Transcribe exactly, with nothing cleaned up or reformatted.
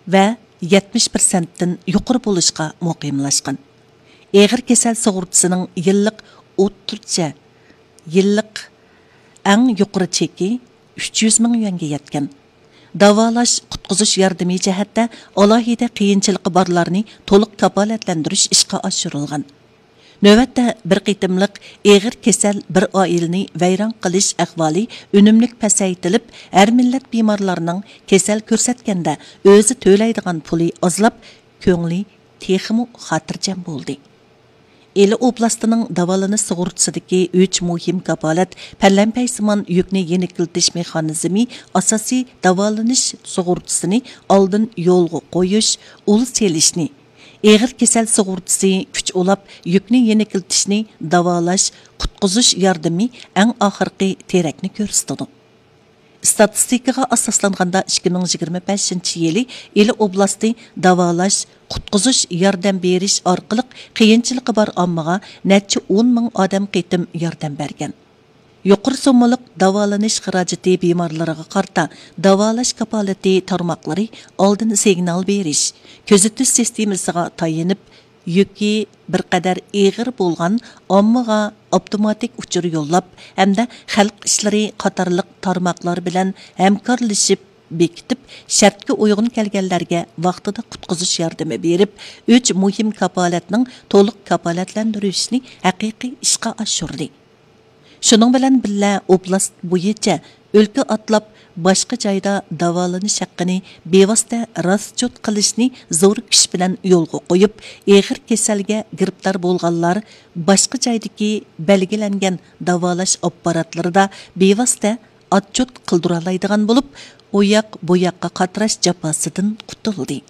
ۋە يەتمىش پىرسەنتتىن يۇقىرى بولۇشقا مۇقىملاشقان. ئېغىر كېسەل سۇغۇرتىسىنىڭ يىللىق ئوتتۇرىچە، يىللىق ئەڭ يۇقىرى چېكى ئۈچ يۈز مىڭ يۈەنگە يەتكەن. داۋالاش، قۇتقۇزۇش ياردىمى جەھەتتە ئالاھىدە قىيىنچىلىقى بارلارنى تولۇق كاپالەتلەندۈرۈش ئىشقا ئاشۇرۇلغان. نۆۋەتتە بىر قېتىملىق ئېغىر كېسەل بىر ئائىلىنى ۋەيران قىلىش ئەھۋالى ئۈنۈملۈك پەسەيتىلىپ، ھەر مىللەت بىمارلارنىڭ كېسەل كۆرسەتكەندە ئۆزى تۆلەيدىغان پۇلى ئازلاپ، كۆڭلى تېخىمۇ خاتىرجەم بولدى. ئىلى ئوبلاستىنىڭ داۋالىنىش سۇغۇرتىسىدىكى ئۈچ مۇھىم كاپالەت پەلەمپەيسىمان يۈكنى يېنىكلىتىش مېخانىزمى ئاساسىي داۋالىنىش سۇغۇرتىسىنى ئالدىن يولغا قويۇش، ئۇل سېلىشنى، ئېغىر كېسەل سۇغۇرتىسى كۈچ ئۇلاپ يۈكنى يېنىكلىتىشنى داۋالاش، قۇتقۇزۇش ياردىمى ئەڭ ئاخىرقى تېرەكنى كۆرسىتىدۇ. ئىستاتىستىكىغا ئاساسلانغاندا، ئىككى مىڭ يىگىرمە بەشىنچى يىلى ئىلى ئوبلاستى داۋالاش، قۇتقۇزۇش ياردەم بېرىش ئارقىلىق قىيىنچىلىقى بار ئاممىغا نەچچە ئون مىڭ ئادەم قېتىم ياردەم بەرگەن. يۇقىرى سوممىلىق داۋالىنىش خىراجىتى بىمارلىرىغا قارىتا داۋالاش كاپالىتى تارماقلىرى ئالدىن سىگنال بېرىش، كۆزىتىش سىستېمىسىغا تايىنىپ، يۈكى بىر قەدەر ئېغىر بولغان ئاممىغا ئاپتوماتىك ئۇچۇر يوللاپ ھەمدە خەلق ئىشلىرى قاتارلىق تارماقلار بىلەن ھەمكارلىشىپ بېكىتىپ، شەرتكە ئۇيغۇن كەلگەنلەرگە ۋاقتىدا قۇتقۇزۇش ياردىمى بېرىپ، ئۈچ مۇھىم كاپالەتنىڭ تولۇق كاپالەتلەندۈرۈشىنى ھەقىقىي ئىشقا ئاشۇردى. شۇنىڭ بىلەن بىللە، ئوبلاست بويىچە ئۆلكە ئاتلاپ، باشقا جايدا داۋالىنىش ھەققىنى بىۋاسىتە راسچوت قىلىشنى زور كۈچ بىلەن يولغا قويۇپ، ئېغىر كېسەلگە گىرىپتار بولغانلار باشقا جايدىكى بەلگىلەنگەن داۋالاش ئاپپاراتلىرىدا بىۋاسىتە ئاتچوت قىلدۇرالايدىغان بولۇپ، ئۇ ياق، بۇ ياققا قاتراش جاپاسىدىن قۇتۇلدى.